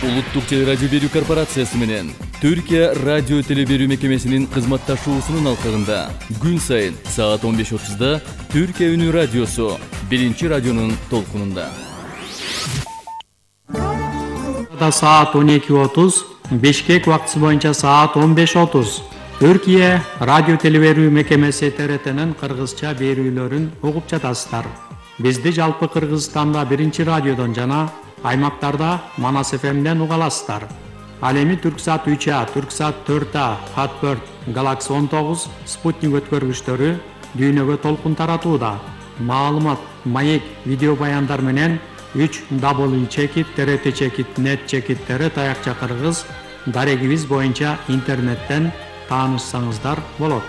Улуттук телерадио берүү корпорациясы менен Түркия радио теле берүү мекемесинин кызматташуусунун алкагында күн сайын саат 15:30 Түркия үнү радиосу биринчи радионун толкунунда. Саат 12:30, Бишкек убактысы боюнча саат 15:30. Түркия радио теле берүү мекемеси ТРТнын кыргызча берүүлөрүн угуп жатасыздар. Бизди жалпы Кыргызстанда биринчи радиодон жана аймактарда Манас ФМден уга аласыздар. Ал эми Түрксат 3А, Түрксат 4А, Хатберт, Galaxy 19, Спутник өткөргүчтөрү дүйнөгө толкун таратууда. Маалымат, маек, видео баяндар менен 3w.trt.net/tr таякча кыргыз дарегибиз боюнча интернеттен таанышсаңыздар болот.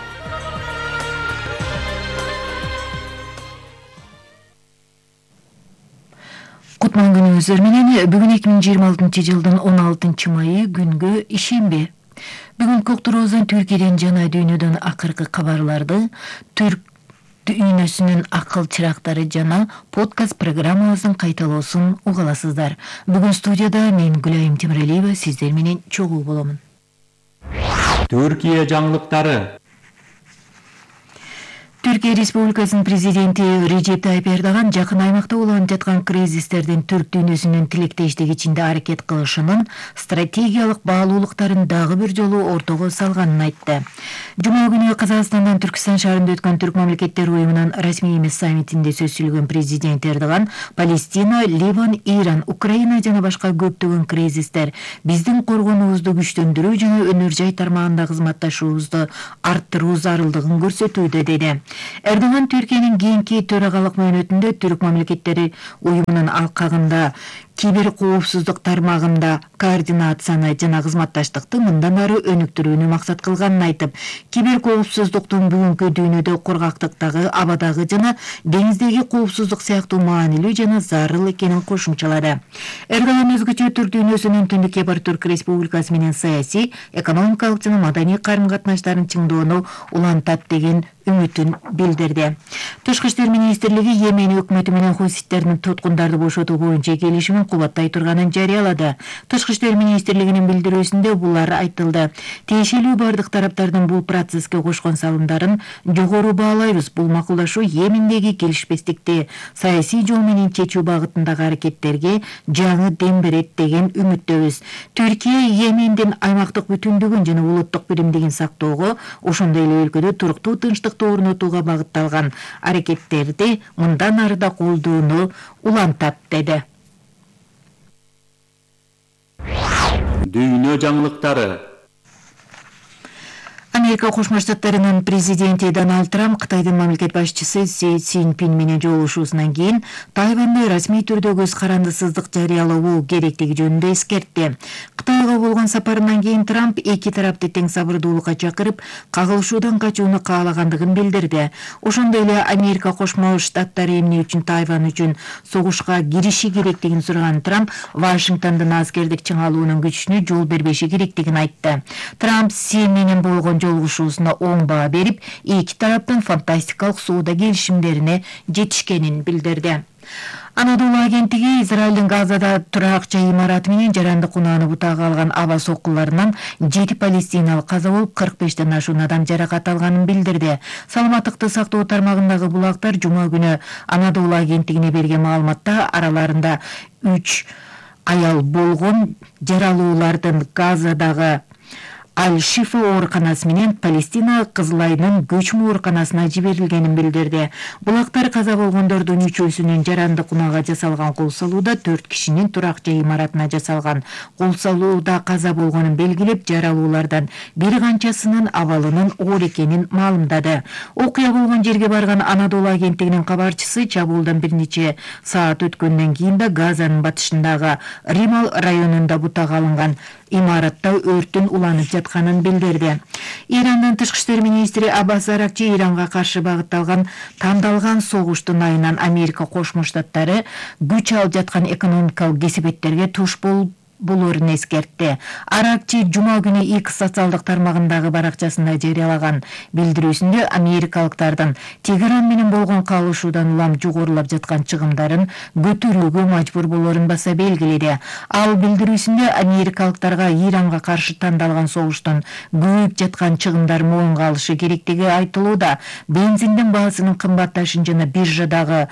Кутман күнүңүздөр менен бүгүн 2026 жылдын 16 майы күнгө ишемби. Бүгүнкү уктуруубуздан Түркияден жана дүйнөдөн акыркы кабарларды, түрк дүйнөсүнүн акыл чырактары жана подкаст программабыздын кайталоосун уга аласыздар. Бүгүн студияда мен Гүлайым Темиралиева сиздер менен чогуу боломун. Түркия жаңылыктары. Түркия Республикасынын президенти Режеп Тайып Эрдоган жакын аймакта уланып жаткан кризистердин түрк дүйнөсүнүн тилектештик ичинде аракет кылышынын стратегиялык баалуулуктарын дагы бир жолу ортого салганын айтты. Жума күнү Казакстандан Түркистан шаарында өткөн Түрк мамлекеттер уюмунун расмий эмес саммитинде сөз сүйлөгөн президент Эрдоган Палестина, Ливан, Иран, Украина жана башка көптөгөн кризистер биздин коргонуубузду күчтөндүрүү жана өнөр жай тармагында кызматташуубузду арттыруу зарылдыгын көрсөтүүдө деди. Эрдоган Түркиянын кийинки төрагалык мөөнөтүндө Түрк мамлекеттери уюмунун алкагында кибер коопсуздук тармагында координацияны жана кызматташтыкты мындан ары өнүктүрүүнү максат кылганын айтып, кибер коопсуздуктун бүгүнкү дүйнөдө коргактыктагы, абадагы жана деңиздеги коопсуздук сыяктуу маанилүү жана зарыл экенин кошумчалады. Эрдоган өзгөчө түрк дүйнөсүнүн Түндүк Кипр Түрк Республикасы менен саясий, экономикалык жана маданий карым-катнаштарын чыңдоону улантат деген үмүтүн билдирди. Тышкы иштер министрлиги Йемен өкмөтү менен хуситтердин туткундарды бошотуу боюнча келишимин кубаттай турганын жарыялады. Тышкы иштер министрлигинин билдирүүсүндө булар айтылды. Тиешелүү бардык тараптардын бул процесске кошкон салымдарын жогору баалайбыз. Бул макулдашуу Йемендеги келишпестикти саясий жол менен чечүү багытындагы аракеттерге жаңы дем берет деген үмүттөбүз. Түркия Йемендин аймактык бүтүндүгүн жана улуттук биримдигин сактоого, ошондой эле өлкөдө туруктуу тынчтыкты орнотууга багытталган аракеттерди мындан ары да колдоону улантат деди. Дүйнө жаңылыктары. Америка Кошмо Штаттарынын президенти Дональд Трамп Кытайдын мамлекет башчысы Си Цзиньпин менен жолугушуусунан кийин Тайваньды расмий түрдө көз карандысыздык жарыялоо керектиги жөнүндө эскертти. Кытайга болгон сапарынан кийин Трамп эки тарапты тең сабырдуулукка чакырып, кагылышуудан качууну каалагандыгын билдирди. Ошондой эле Америка Кошмо Штаттары эмне үчүн Тайвань үчүн согушка кириши керектигин сураган Трамп Вашингтондун аскердик чыңалуунун күчүнө жол бербеши керектигин айтты. Трамп Си менен болгон жолугушуусуна оң баа берип, эки тараптын фантастикалык соода келишимдерине жетишкенин билдирди. Анадолу агенттиги Израилдин Газада турак жай имараты менен жарандык унааны бутаага алган аба соккуларынан 7 палестиналык каза болуп, 45ден ашуун адам жаракат алганын билдирди. Саламаттыкты сактоо тармагындагы булактар жума күнү Анадолу агенттигине берген маалыматта араларында 3 аял болгон жаралуулардын Газадагы Аль-Шифа ооруканасы менен Палестина Кызыл Айдын көчмө ооруканасына жиберилгенин билдирди. Булактар каза болгондордун 3-өсүнүн жарандык унаага жасалган кол салууда, 4 кишинин турак жай имаратына жасалган кол салууда каза болгонун белгилеп, жаралуулардан бир канчасынын абалынын оор экенин маалымдады. Окуя болгон жерге барган Анадолу агенттигинин кабарчысы чабуулдан бир нече саат өткөндөн кийин да Газанын батышындагы Римал районунда бутаага алынган имаратта өрттүн уланып жатканын билдирди. Ирандын тышкы иштер министри Аббас Аракчи Иранга каршы багытталган тандалган согуштун айынан Америка Кошмо Штаттары күч алып жаткан экономикалык кесепеттерге туш болуп болорун эскертти. Аракчы жума күнү X социалдык тармагындагы баракчасында жарыялаган билдирүүсүндө америкалыктардын Тегеран менен болгон калышуудан улам жогорулап жаткан чыгымдарын көтөрүүгө мажбур болорун баса белгиледи. Ал билдирүүсүндө америкалыктарга Иранга каршы тандалган согуштун көбөйүп жаткан чыгымдар моюнга алышы керектиги айтылууда. Бензиндин баасынын кымбатташын жана биржадагы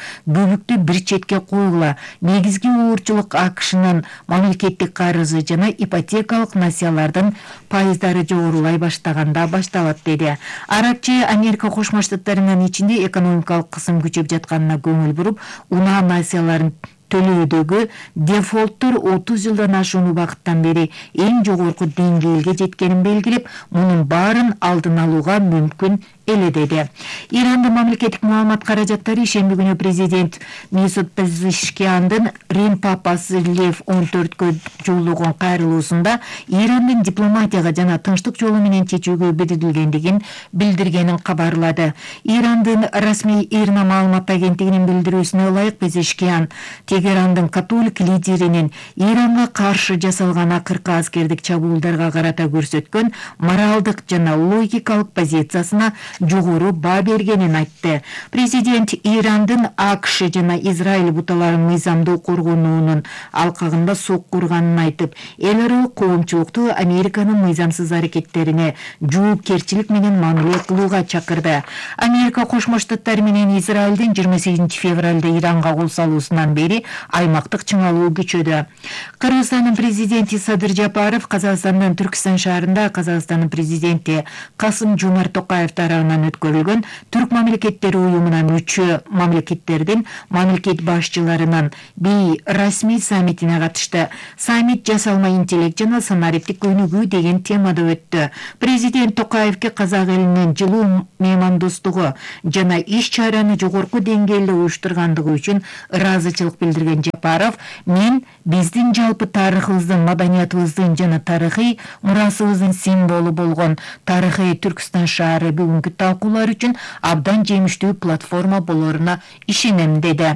көбүктү бир четке койгула. Негизги уурчулук АКШнын мамлекеттик карызы жана ипотекалык насыялардын пайыздары жогорулай баштаганда башталат деди. Аракчы Америка Кошмо Штаттарынын ичинде экономикалык кысым күчөп жатканына көңүл буруп, унаа насыяларын төлөөдөгү дефолттор 30 жылдан ашуун убакыттан бери эң жогорку деңгээлге жеткенин белгилеп, мунун баарын алдын алууга мүмкүн эле деди. Ирандын мамлекеттик маалымат каражаттары шемби күнү президент Месут Пезешкияндын Рим папасы Лев 14кө жолдогон кайрылуусунда Ирандын дипломатияга жана тынчтык жолу менен чечүүгө бирдилгендигин билдиргенин кабарлады. Ирандын расмий ИРНА маалымат агенттигинин билдирүүсүнө ылайык Пезешкиян Тегерандын католик лидеринин Иранга каршы жасалган акыркы аскердик чабуулдарга карата көрсөткөн моралдык жана логикалык позициясына жогору баа бергенин айтты. Президент Ирандын АКШ жана Израиль буталарын мыйзамдуу коргонуунун алкагында сокку урганын айтып, эл аралык коомчулукту Американын мыйзамсыз аракеттерине жоопкерчилик менен мамиле кылууга чакырды. Америка Кошмо Штаттары менен Израилдин 28 февралда Иранга кол салуусунан бери аймактык чыңалуу күчөдү. Кыргызстандын президенти Садыр Жапаров Казакстандын Түркстан шаарында Казакстандын президенти Касым-Жомарт Токаев тарабынан өткөрүлгөн Түрк мамлекеттери уюмуна мүчө мамлекеттердин мамлекет башчыларынын расмий саммитине катышты. Саммит жасалма интеллект жана санариптик өнүгүү деген темада өттү. Президент Токаевке казак элинин жылуу меймандостугу жана иш чараны жогорку деңгээлде уюштургандыгы үчүн ыраазычылык билдирген Жапаров, мен биздин жалпы тарыхыбыздын, маданиятыбыздын жана тарыхый мурасыбыздын символу болгон тарыхый Түркстан шаары бүгүнкү талкуулар үчүн абдан жемиштүү платформа болоруна ишенем деди.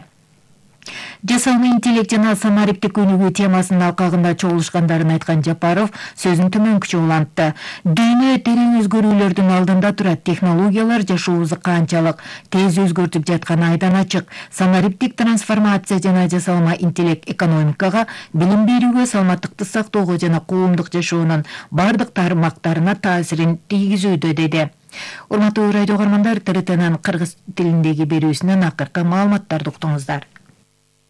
Жасалма интеллект жана санариптик өнүгүү темасынын алкагында чогулушкандарын айткан Жапаров сөзүн төмөнкүчө улантты. Дүйнө терең өзгөрүүлөрдүн алдында турат. Технологиялар жашообузду канчалык тез өзгөртүп жатканы айдан ачык. Санариптик трансформация жана жасалма интеллект экономикага, билим берүүгө, саламаттыкты сактоого жана коомдук жашоонун бардык тармактарына таасирин тийгизүүдө деди. Урматтуу радио көрөрмандар, ТРТнын кыргыз тилиндеги берүүсүнөн акыркы маалыматтарды уктуңуздар.